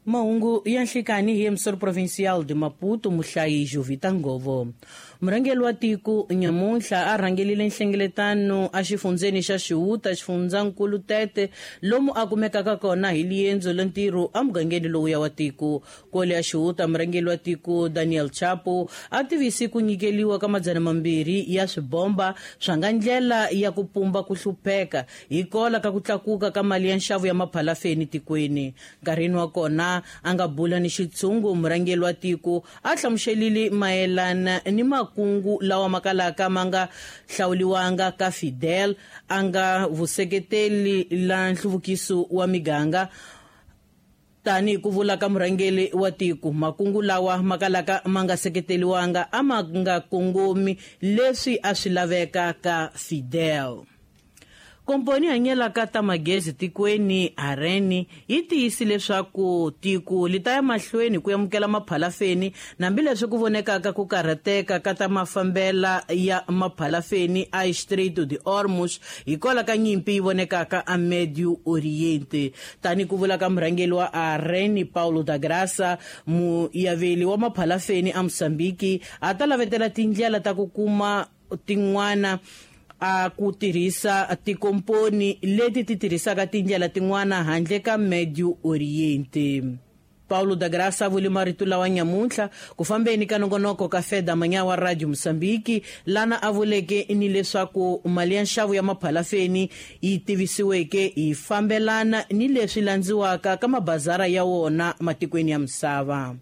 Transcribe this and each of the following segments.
Mahungu ya nhlikani hi emissor provincial de Maputo muhlayi Jovita Ngovo. Murhangeri wa tiko nyamuntlha a rhangelile nhlengeletano exifundzeni xa Xihuta xifundzankulu Tete lomu a kumekaka kona hi liendzo la ntirho emugangeni lowuya wa tiko. Kwale ya Xihuta murhangeri wa tiko Daniel Chapo a tivisi ku nyikeliwa ka 200 ya swibomba swa nga ndlela ya ku pumba ku hlupheka hikola ka ku tlakuka ka mali ya nxavo ya maphalafeni tikweni. Nkarhini wa kona a nga bula ni xitshungu murhangeri wa tiko a hlamuselile mayelana ni makungu lawa makalaka ma nga hlawuliwanga ka Fidel a nga vuseketeli la nhluvukiso wa miganga. Tani ku vula ka murhangeri wa tiko makungu lawa makalaka ma nga seketeliwanga a ma nga kongomi leswi a swi laveka ka Fidel. Komponi hanyelaka ta magezi tikweni Areni yi tiyisi leswaku tiko li ta ya mahlweni ku amukela maphalafeni hambileswi ku vonekaka ku karhateka ka ta mafambela ya maphalafeni a Strait de Hormuz hikwalaho ka nyimpi yi vonekaka a Medio Oriente. Tani ku vula ka murhangeri wa Areni Paulo da Graça, muyaveli wa maphalafeni a Mozambique a ta lavetela tindlela ta ku kuma tin'wana a ku tirhisa tikomponi leti ti tirhisaka tindlela tin'wana handle ka Medio Oriente. Paulo da Graça a vule marito lawa nyamuntlha ku fambeni ka nongonoko ka Feda Manyawa Radio Mozambique lana a vuleke ni leswaku mali ya nxavo ya maphalafeni yi tivisiweke yi fambelana ni leswi landziwaka ka mabazara ya wona matikweni ya misava.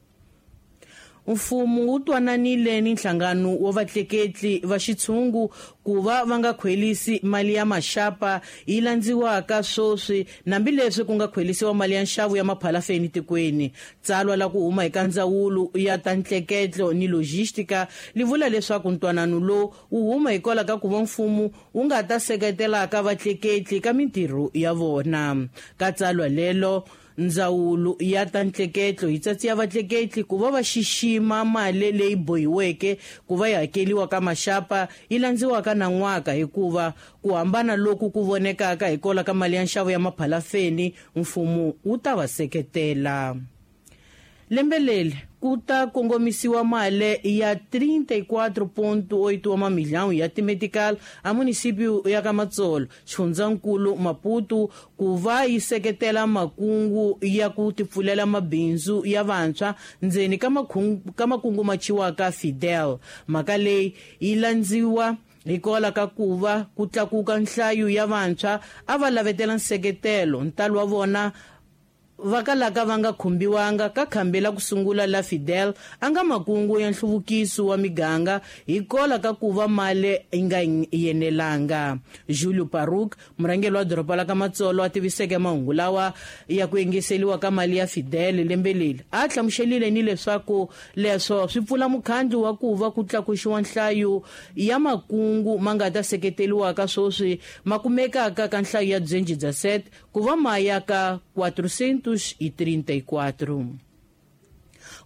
Mfumo wu twananile ni nhlangano wa vatleketli va xitshungu ku va va nga khwelisi mali ya maxapa yi landziwaka sweswi hambileswi ku nga khwelisiwa mali ya nxavo ya maphalafeni tikweni. Tsalwa la ku huma eka ndzawulo ya ta ntleketlo ni logistika li vula leswaku ntwanano lowu wu huma hikwalaho ka ku va mfumo wu nga ta seketelaka vatleketli ka mintirho ya vona. Ka tsalwa lelo ndzawulo ya ta ntleketlo yi tsatsiya vatleketli ku va va xixima mali leyi bohiweke ku va yi hakeliwa ka maxapa yi landziwaka na n'waka hikuva ku hambana loku ku vonekaka hikwalaho ka mali ya nxavo ya maphalafeni mfumo wu ta va seketela. Lembe leri ku ta kongomisiwa mali ya 34.8 wa mamilhão ya timetical a município ya ka Matsolo xifundzankulu Maputo ku va yi seketela makungu ya ku tipfulela mabindzu ya vantshwa ndzeni ka makungu ma chiwaka Fidel. Mhaka leyi yi landziwa hikwalaho ka ku va ku tlakuka nhlayo ya vantshwa a va lavetela nseketelo ntalo wa vona va kalaka va nga khumbiwanga ka khambi la ku sungula la Fidel a nga makungu ya nhluvukiso wa miganga hikwalaho ka ku va mali yi nga yenelanga. Julio Paruk murhangeri wa doroba la ka Matsolo a tiviseke mahungu lawa ya ku engeseliwa ka mali ya Fidel lembe leri a hlamuselile ni leswaku leswo swi pfula mukhandlu wa ku va ku tlakuxiwa nhlayo ya makungu ma nga ta seketeliwaka sweswi ma kumekaka ka nhlayo ya 217 ku va ma ya ka 434.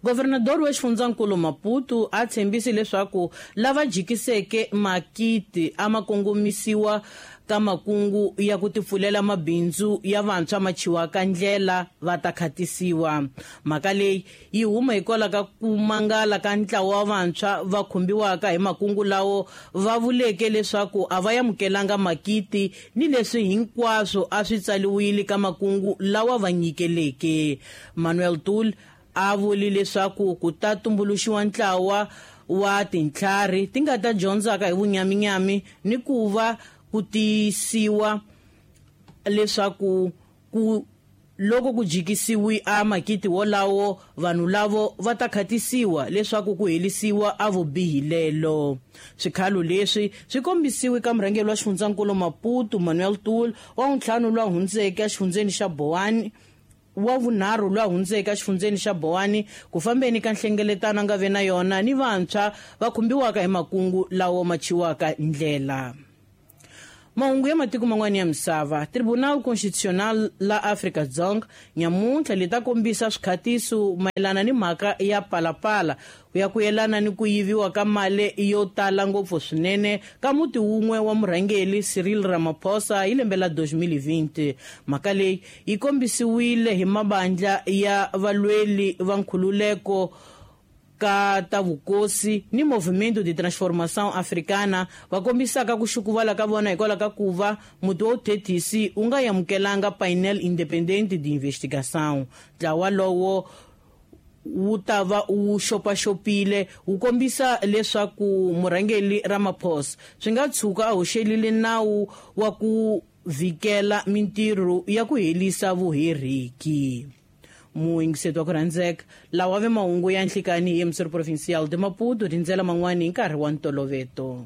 Governador wa xifundzankulu Maputo a tshembise leswaku lava jikiseke makiti a ma kongomisiwa ka makungu ya ku tipfulela mabindzu ya vantshwa ma chiwaka ndlela va ta khatisiwa. Mhaka leyi yi huma hikwalaho ka ku mangala ka ntlawa wa vantshwa va khumbiwaka hi makungu lawo va vuleke leswaku a va amukelanga makiti ni leswi hinkwaswo a swi tsaliwile ka makungu lawa va nyikeleke. Manuel Tul a vuli leswaku ku ta tumbuluxiwa ntlawa wa tintlhari ti nga ta dyondzaka hi vunyaminyami ni ku va ku tiyisiwa leswaku ku loko ku jikisiwi a makiti wolawo vanhu lavo va ta khatisiwa leswaku ku helisiwa a vubihi lelo. Swikhalo leswi swi kombisiwe ka murhangeri wa xifundzankulu Maputo Manuel Tul wa ntlhanu lwa hundzeke exifundzeni xa Boane wa vunharhu lwa hundzeke exifundzeni xa Boane ku fambeni ka nhlengeletano a nga ve na yona ni vantshwa va khumbiwaka hi makungu lawo ma chiwaka ndlela. Mahungu ya matiko man'wana ya misava. Tribunal Constitucional la Afrika-Dzonga nyamuntlha li ta kombisa swikhatiso mayelana ni mhaka ya Palapala ya ku yelana ni ku yiviwa ka mali yo tala ngopfu swinene ka muti wun'we wa murhangeri Cyril Ramaphosa hi lembe la 2020. Mhaka leyi yi kombisiwile hi mabandla ya valweli va nkhululeko ka ta vukosi ni Movimento de Transformação Africana, va kombisaka ku xukuvala ka vona hikwalaho ka ku va muti wa vuthethisi wu nga amukelanga Painel Independente de Investigação. Ntlawa lowo wu ta va wu xopaxopile wu kombisa leswaku murhangeri Ramaphosa swi nga tshuka a hoxelile nawu wa ku vhikela mintirho ya ku herisa vuheriki. Muyingiseti wa ku rhandzeka, lawa ve mahungu ya nhlikani hi Emissor Provincial de Maputo, tindzela man'wani hi nkarhi wa ntoloveto.